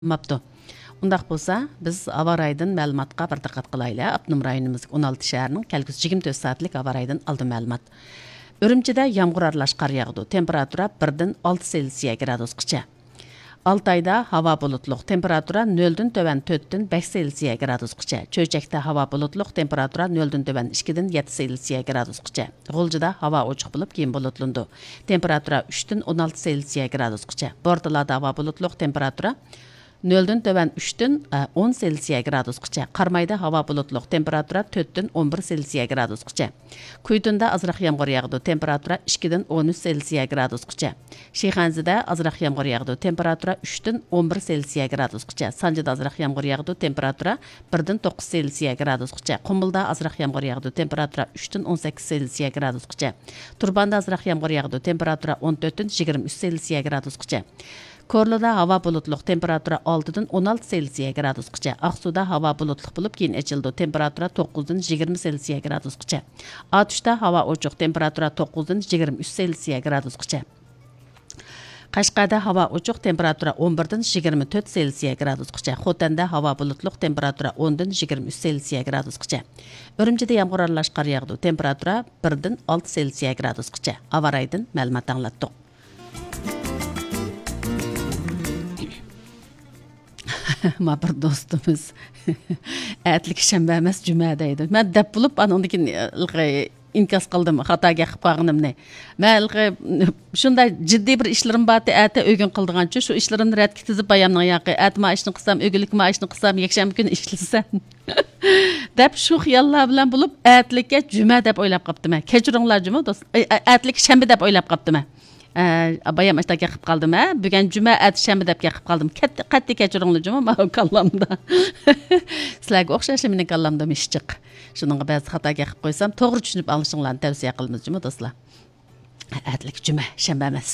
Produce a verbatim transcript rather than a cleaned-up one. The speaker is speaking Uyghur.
قىلماپتۇ. ئۇنداق بولسا، بىز ھاۋا رايىدىن مەلۇماتقا بىر دىققەت قىلايلى. ئاپتونوم رايونىمىزدىكى ئون ئالتە شەھەرنىڭ كەلگۈسى يىگىرمە تۆت سائەتلىك ھاۋا رايىدىن ئالدىن مەلۇمات. ئۈرۈمچىدە يامغۇر ئارىلاش قار ياغىدۇ. تېمپېراتۇرا بىردىن ئالتە سېلسىيە گرادۇسقىچە. ئالتايدا ھاۋا بۇلۇتلۇق، تېمپېراتۇرا نۆلدىن تۆۋەن تۆتتىن بەش سېلسىيە گرادۇسقىچە. چۆچەكتە ھاۋا بۇلۇتلۇق، تېمپېراتۇرا نۆلدىن تۆۋەن ئىككىدىن يەتتە سېلسىيە گرادۇسقىچە. غۇلجىدا ھاۋا ئوچۇق بولۇپ، كېيىن بۇلۇتلىنىدۇ. تېمپېراتۇرا ئۈچتىن ئون ئالتە سېلسىيە گرادۇسقىچە. بورتالادا ھاۋا بۇلۇتلۇق، تېمپېراتۇرا نۆلدىن تۆۋەن ئۈچتىن، ئە، ئون سېلسىيە گرادۇسقىچە. قارامايدا ھاۋا بۇلۇتلۇق، تېمپېراتۇرا تۆتتىن ئون بىر سېلسىيە گرادۇسقىچە. كۈيتۇندا ئازراق يامغۇر ياغىدۇ، تېمپېراتۇرا ئىككىدىن ئون ئۈچ سېلسىيە گرادۇسقىچە. شىخەنزىدە ئازراق يامغۇر ياغىدۇ، تېمپېراتۇرا ئۈچتىن ئون بىر سېلسىيە گرادۇسقىچە. سانجىدا ئازراق يامغۇر ياغىدۇ، تېمپېراتۇرا بىردىن توققۇز سېلسىيە گرادۇسقىچە. قۇمۇلدا ئازراق يامغۇر ياغىدۇ، تېمپېراتۇرا ئۈچتىن ئون سەككىز سېلسىيە گرادۇسقىچە. تۇرپاندا ئازراق يامغۇر ياغىدۇ، تېمپېراتۇرا ئون تۆتتىن يىگىرمە ئۈچ سېلسىيە گرادۇسقىچە. كورلىدا ھاۋا بۇلۇتلۇق، تېمپېراتۇرا ئالتىدىن ئون ئالتە سېلسىيە گرادۇسقىچە. ئاقسۇدا ھاۋا بۇلۇتلۇق بولۇپ، كېيىن ئېچىلىدۇ، تېمپېراتۇرا توققۇزدىن يىگىرمە سېلسىيە گرادۇسقىچە. ئاتۇشتا ھاۋا ئوچۇق، تېمپېراتۇرا توققۇزدىن يىگىرمە ئۈچ سېلسىيە گرادۇسقىچە. قەشقەردە ھاۋا ئوچۇق، تېمپېراتۇرا ئون بىردىن يىگىرمە تۆت سېلسىيە گرادۇسقىچە. خوتەندە ھاۋا بۇلۇتلۇق، تېمپېراتۇرا ئوندىن يىگىرمە ئۈچ سېلسىيە گرادۇسقىچە. ئۈرۈمچىدە يامغۇر ئارىلاش قار ياغىدۇ، تېمپېراتۇرا بىردىن ئالتە سېلسىيە گرادۇسقىچە. ھاۋا رايىدىن مەلۇمات ئاڭلاتتۇق. ما بىر دوستىمىز، ئەتىلىك شەنبە ئەمەس، جۈمە دەيدۇ. مەن دەپ بولۇپ، ئانىڭدىن كېيىن، ئىنكاس قىلدىم خاتا گەپ قىلىپ قالغىنىمنى. مەن شۇنداق جىددىي بىر ئىشلىرىم بارتى، ئەتە ئۆگۈن قىلىدىغانچۇ، شۇ ئىشلىرىمنى رەتكە تىزىپ، بايامنىڭ ياقى ئەتە ما ئىشنى قىلسام، ئۆگۈنلۈككە ما ئىشنى قىلسام، يەكشەنبە كۈنى ئىشلىسەم دەپ، شۇ خىياللار بىلەن بولۇپ، ئەتىلىككە جۈمە دەپ ئويلاپ قاپتىمەن. كەچۈرۈڭلار جۇمۇ دوست، ئەتىلىك شەنبە دەپ ئويلاپ قاپتىمەن. ئە، بايام ئاشتا گەپ قىلىپ قالدىم، ھە؟ بۈگۈن جۈمە، ئەتە شەنبە دەپ گەپ قىلىپ قالدىم. كەتتى، قەتئىي كەچۈرۈڭلار جۇمۇ، ماۋۇ كاللامدا. سىلەرگە ئوخشاشلا مېنىڭ كاللامدىمۇ ئىش جىق. شۇنىڭغا بەزى خاتا گەپ قىلىپ قويسام، توغرا چۈشىنىپ ئاڭلىشىڭلارنى تەۋسىيە قىلىمىز جۇمۇ دوستلار. ئەتىلىك جۈمە، شەنبە ئەمەس.